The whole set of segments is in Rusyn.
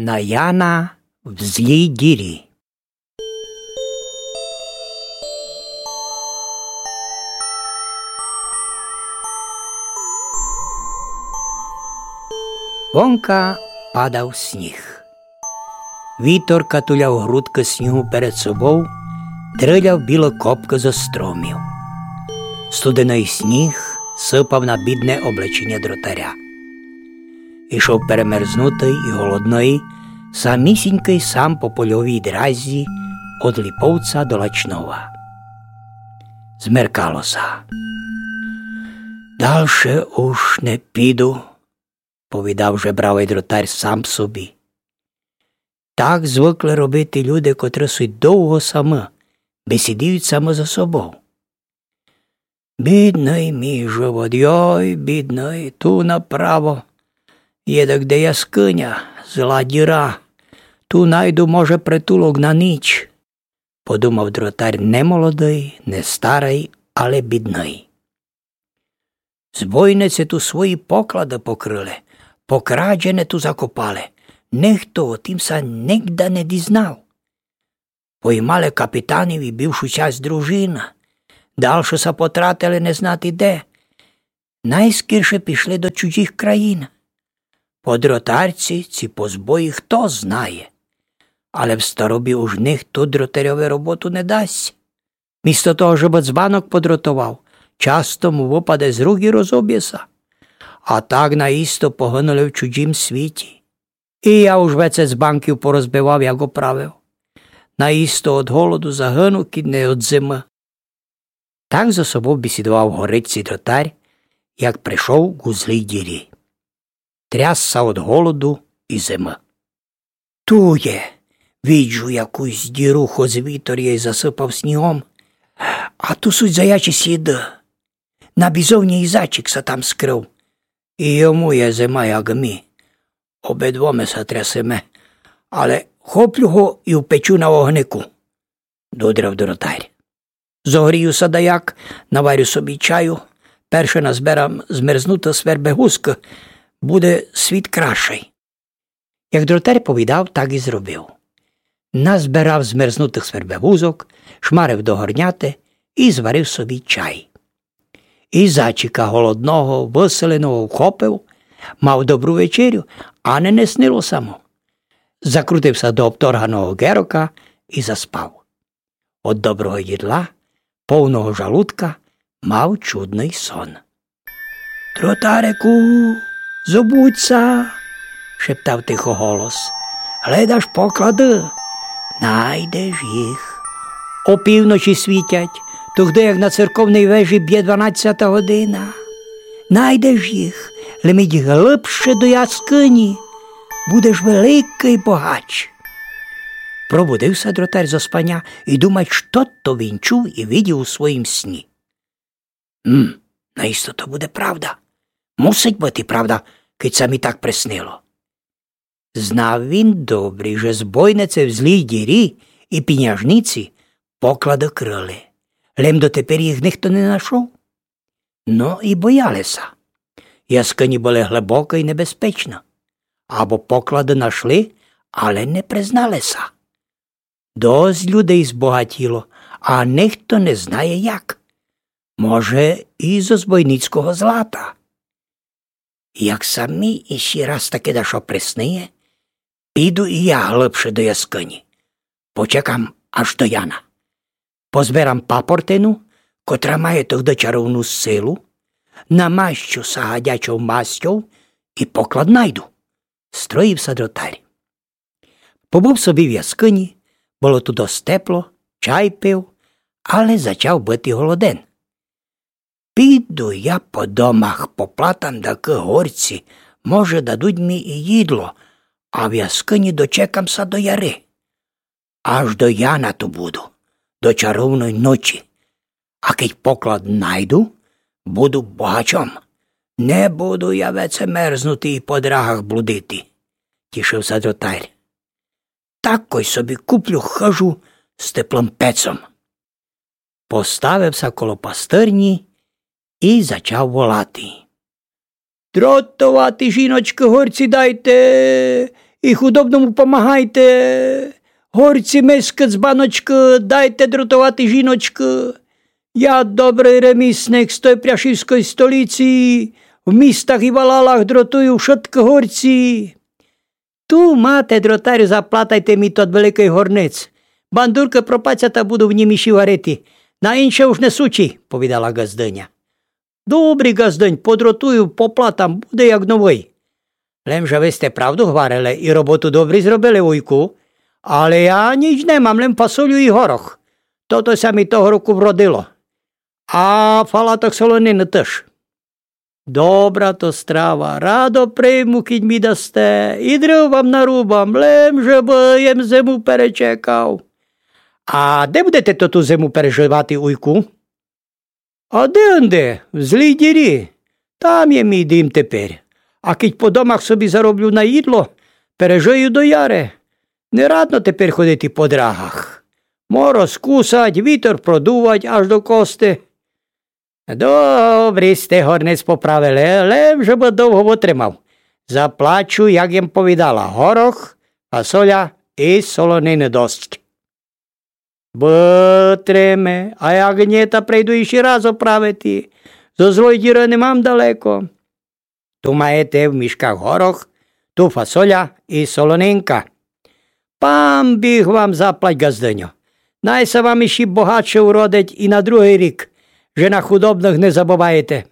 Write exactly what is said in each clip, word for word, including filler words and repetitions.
На Яна в злій дірі. Вонка падав сніг. Вітор катуляв грудкы снігу перед собов, дриляв білы копкы зо стромів. Студеный сніг сыпав на бідне облеченя дротаря. Ішов перемерзнутый і голодный, самісінькый сам по польовій дразі од Ліповца до Лачнова. Змеркало ся. Дальше уж не піду, повідав жебравый дротарь сам собі. Так звыкли робити люди, котры суть довго самы, бесідують самы зо собов. Бідный мій живот, йой, бідный, ту направо є дагде яскыня, зла діра. Ту найду, може, притулок на ніч, подумав дротарь, не молодый, не старый, але бідный. Збойниці ту свої поклады покрыли, покрадене ту закопали. Нихто о тім ся нигда не дізнав. Поймали капітанів і бывшу часть дружины. Дальше ся потратили не знати де. Найскорше пішли до чужых країн. По дротарці ці позбої хто знає. Але в старобі уж нихто дротарьови роботу не дасть. Місто того, жебы дзбанок подротовав, часто му выпаде з рук і розобє ся. А так наісто погынули в чужім світі. І я уж веце дзбанків порозбивав, як оправив. Наісто од голоду загыну, кідь не од зимы. Так зо собов бесідовав горицькый дротарь, як пришов ку злій дірі. Тряс ся од голоду і зимы. Ту є, виджу якусь діру, хоц вітор єй засыпав снігом, а ту суть заячі сліды. На бізовні і зайчик ся там скрыв. І йому є зима, як мі. Обидвома ся трясеме, але хоплю го і впечу на огнику, додрав дротарь. Зогрію ся даяк, наварю собі чаю, перше назберам змерзнутых свербегузкы, буде світ кращый. Як дротарь повідав, так і зробив. Назберав змерзнутых свербегузок, шмарив до горняты і зварив собі чай. І зайчика голодного, выселеного вхопив, мав добру вечерю, а не, не снило ся му. Закрутив ся до обторганого герока і заспав. Од доброго їдла, повного жалудка, мав чудный сон. Дротарику, зобудь ся, шептав тихо голос. Гледаш поклады? Найдеш їх. Опівночі світять, тогды як на церковній вежі бє дванадцята година. Найдеш їх, лем ідь глыбше до яскыні. Будеш великый богач. Пробудив ся дротарь зо спаня і думать, што то він чув і видів у своїм сні. М, наісто то буде правда. Мусить быти правда, кидь ся мі так приснило. Знав він добрі, же збойниці в злій дірі і піняжниці поклады крыли. Лем дотепер їх нихто не нашов. Но і бояли ся. Яскыні были глыбокы і небезпечны. Або поклады нашли, але не признали ся. Досить людей збогатіло, а нихто не знає як. Може, і зо збойницького злата. Як ся мі іщи раз таке дашто присниє, піду і я глыбше до яскыні. Почекам аж до Яна. Позберам папортину, котра має тогды чаровну силу, намащу ся гадячов мастьов і поклад найду. Строїв ся дротарь. Побыв собі в яскыні, было ту досить тепло, чай пив, але зачав быти голоден. Піду я по домах, поплатам дакы горці, може, дадуть мі і їдло, а в яскыні дочекам ся до яри. Аж до Яна ту буду, до чаровной ночі. А кидь поклад найду, буду богачом. Не буду я веце мерзнути і по драгах блудити, тішив ся дротарь. Такой собі куплю хыжу з теплым пецом. Поставив ся коло пастырні і зачав волати. Дротовати, жіночкы, горці дайте, і худобному помагайте. Горці, мискы з баночкы, дайте дратовати жіночкы. Я добрый ремісник з той пряшівской столиці, в містах і валалах дратую вшыткы горці. Ту мате, дротарю, заплатайте мі тот великый горнець. Бандуркы пропаця та буду в нім іщі варити. На інше уж не сучі, повідала ґаздыня. Добрі, ґаздынь, подратую, поплатам, буде як новый. Лем же вы сте правду гварили і роботу добрі зробили, вуйку. Але я ніч не мам, лем фасолю і горох. Тото ся мі того року вродило. А фалаток солонины тыж. Добра то страва, радо прийму, кідь мі дасте, і дрыв вам нарубам, лем же бы єм зиму перечекав. А де будете тоту зиму переживати, уйку? А де-онде, в Злій Дірі. Там є мій дім теперь. А кідь по домах собі зароблю на їдло, пережию до яри. Не радно теперь ходити по драгах. Мороз кусать, вітер продувать аж до кости. Добрі сте горнець поправили, лем же бы довго вытримав. Заплачу, як єм повідала, горох, фасоля і солонины досць. Вытриме, а як нє, та прийду іщі раз оправити. Зо Злой Діры не мам далеко. Ту маєте в мішках горох, ту фасоля і солонинка. Пан Біг вам заплать, ґаздыньо. Най ся вам іщі богатше уродить і на другый рік, же на худобных не забываєте.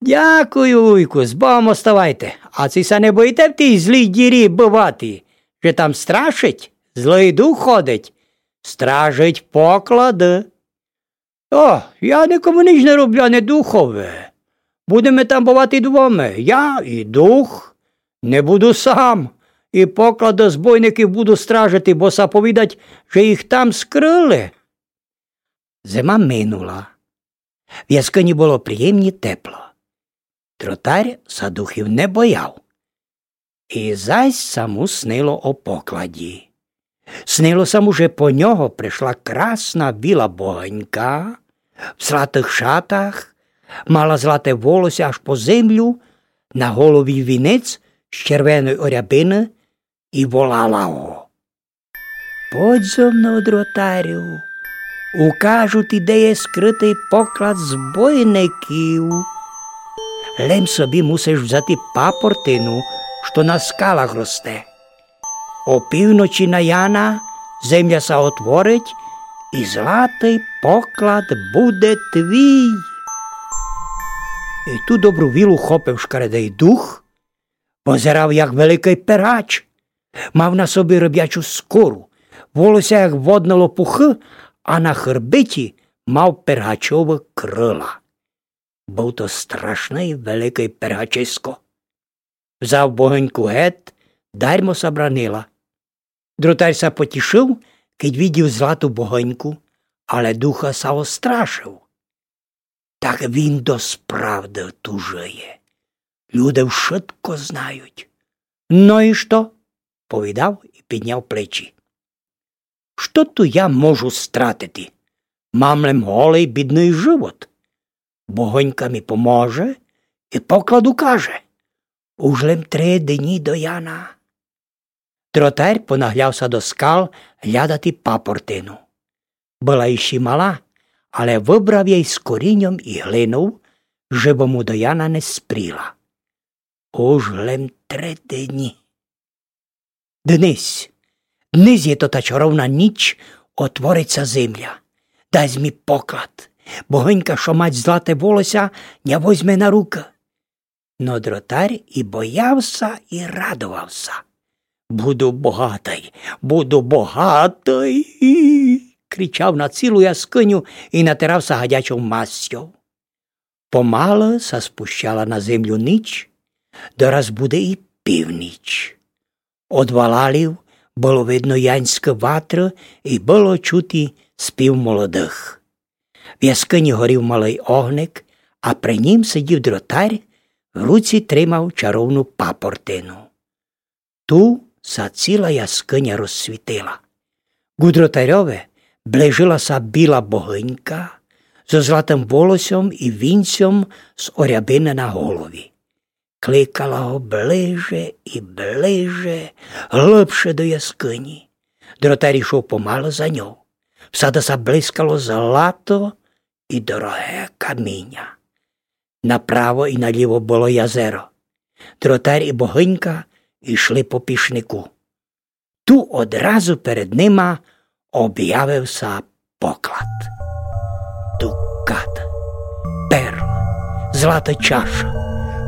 Дякую, вуйку, з Богом оставайте. А ци ся не боїте в тій Злій Дірі бывати, же там страшить, злый дух ходить, стражить поклады? О, я никому ніч не роблю, ани духови. Будеме там бывати двома, я і дух. Не буду сам. І поклад, розбойників буду стражити, бо ся повідать, же їх там скрыли. Зима минула. В яскыні было приємні тепло. Дротарь ся духів не бояв. І зась ся му снило о покладі. Снило ся му, же по нього пришла красна біла богынька в златых шатах, мала злате волосся аж по землю, на голові вінець з червеной орябины, і волала го: Подь зо мнов, дротарю, укажу ти, де є скрытый поклад збойників. Лем собі мусиш взяти папортину, што на скалах росте. О півночі на Яна земля ся отворить, і златый поклад буде твій. І ту добру вілу хопив шкаредый дух, позирав, як великый пергач. Мав на собі рыбячу скору, волосся, як водны лопухы, а на хырбиті мав пергачовы крыла. Быв то страшный великый пергачисько. Взяв богыньку гет, дармо ся бранила. Дротарь ся потішыв, кидь видів злату богыньку, але духа ся острашыв. Так він досправды ту жыє. Люде вшытко знають. Но і што? Повідав і підняв плечі. Што ту я можу стратити? Мам лем голый бідный живот. Богынька мі поможе і поклад укаже. Уж лем три дні до Яна. Дротарь понагляв ся до скал глядати папортину. Была іщи мала, але выбрав єй з коріньом і глинов, жебы му до Яна не спріла. Уж лем три дні. Днесь, днесь є то та чаровна ніч, отворить ся земля. Дасть мі поклад. Богынька, што мать злате волосся, ня возьме на рукы. Но дротарь і бояв ся, і радовав ся. Буду богатый, буду богатый, кричав на цілу яскыню і натирав ся гадячов масцьов. Помалы ся спущала на землю ніч, дораз буде і північ. Од валалів было видно янськы ватры і было чути спів молодых. В яскыні горів малый огник, а при нім сидів дротарь, в руці тримав чаровну папортину. Ту ся ціла яскыня розсвітила. Ку дротарьови ближила ся біла богынька зо златым волосьом і вінцьом з орябины на голові. Кликала го ближе і ближе, глыбше до яскыні. Дротарь ішов помалы за ньов. Всяды ся блискало злато і дороге каміня. Направо і наліво было язеро. Дротарь і богынька ішли по пішнику. Ту одразу перед нима обявив ся поклад. Дукат, перл, злата чаша,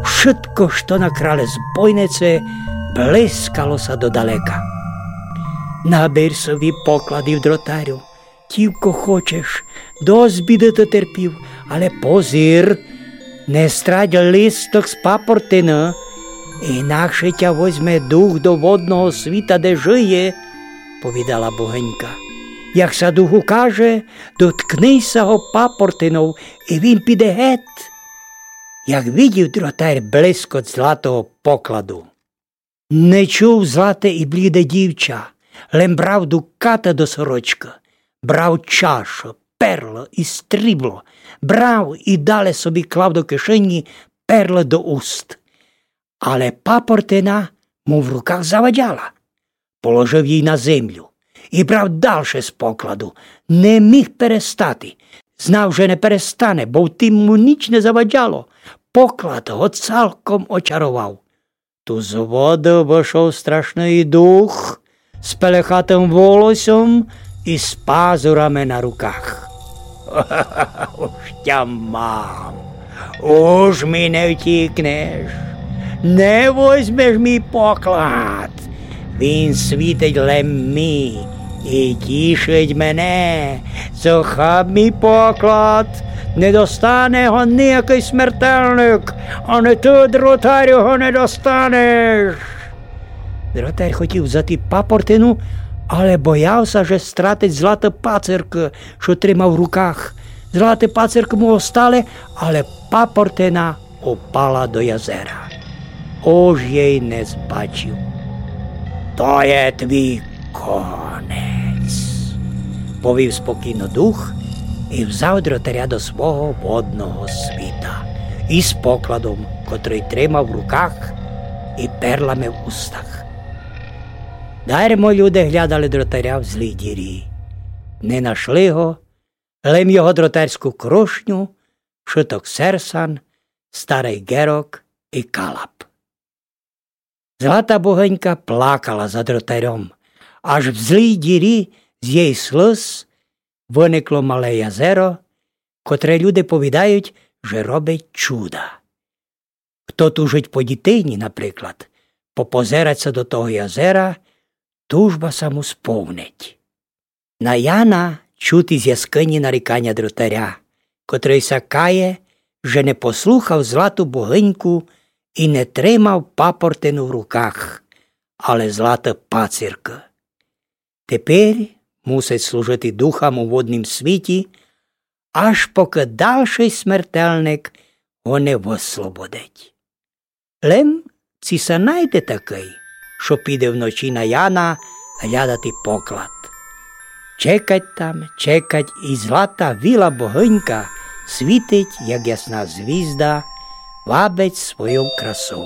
вшытко, што накрали збойниці, блискало ся додалека. Набер собі покладів, дротарю, тілько хочеш, досць біды ты терпів, але позир, не страт листок з папортины, інакше тя возьме дух до водного світа, де жиє, повідала богынька. Як ся дух укаже, доткни ся го папортинов, і він піде гет. Як видів дротарь блискот златого покладу, не чув злате і бліде дівча, лем брав дуката до сорочкы, брав чашу, перла і стрібло, брав і дале собі клав до кишені, перла до уст. Але папортина му в руках завадяла. Положив її на землю і брав дальше з покладу. Не міг перестати. Знав, же не перестане, бо в тім му ніч не завадяло. Поклад го цалком очаровав. Ту з воды вышов страшный дух з пелехатым волосьом і з пазурами на руках. Уж тя мам, уж ми не втікнеш, не возьмеш мій поклад. Він світить лем ми і тішить мене. Захап мій поклад, не достане го ниякый смертельник, ани ты, дротарю, го не достанеш. Дротар хотів взяти папортину, але бояв ся, же стратить златы пациркы, што тримав в руках. Златы пациркы му остали, але папортина упала до язера. Уж єй не збачив. То є твій конець, повів спокійно дух і взяв дротаря до свого водного світа із покладом, котрый тримав в руках, і перлами в устах. Дармо люде глядали дротаря в злій дірі. Не нашли го, лем його дротарську крошню, вшыток серсан, старый герок і калап. Злата богынька плакала за дротарьом, аж в злій дірі з єй слыз выникло мале язеро, котре люде повідають, же робить чуда. Хто тужить по дітині, наприклад, попозерать ся до того язера, тужба ся му сповнить. На Яна чути з яскыні наріканя дротаря, котрый ся кає, же не послухав злату богыньку і не тримав папортину в руках, але златы пациркы. Тепер мусить служити духам у воднім світі, аж покы дальшый смертельник го не выслободить. Лем ци ся найде такый, што піде вночі на Яна глядати поклад. Чекать там, чекать, і злата віла богынька світить, як ясна звізда, вабить свойов красов.